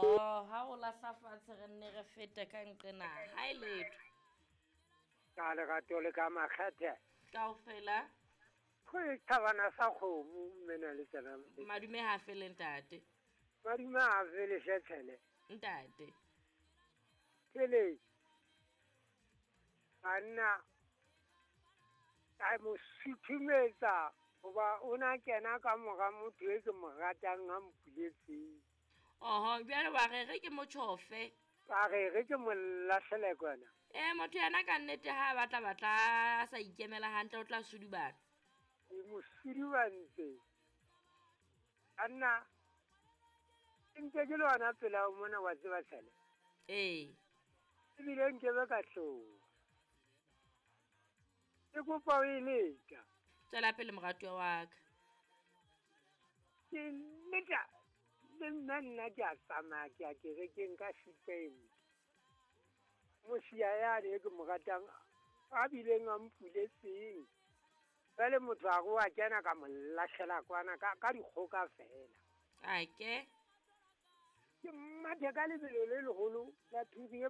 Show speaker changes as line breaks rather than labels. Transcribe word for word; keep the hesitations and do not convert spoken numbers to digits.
Oh, ha o lahla fatshe re nne re fete ka nqena ha e letho.
Ka lerato le ka makgethe.
Kaofela.
Go thabana sa kgomo mme na le tsena.
Madume ha fele ntate.
Madume ha fele shetshele.
Ntate.
Pele. Banna ka mo suthumetsa hoba o na kena ka mora motho e ke mo ratang a mpuletseng.
Oho, jwale wa re re ke motjhofe.
Ka re re ke mo lahlele kwana.
Eh, motho yena ka nnete ha a batla batla a sa ikemela hantle o tla sudubana.
Ke mo sudubantse. Banna ke ntse ke le hona pela mona wa tseba tshele.
Ee.
Ebile nkebe ka tloha. Ke kopa o e leka.
Tswela pele moratuwa wa ka.
Ke leka le nna nna ke a tsamaya ke ya kerekeng ka siteng. Mosia yane e ke mo ratang a bileng a mpuletseng. Jwale motho a re wa kena ka mo lahlela kwana ka ka dikgoka fela.
A ke.
Ke mathe ka lebelo le leholo la phiri e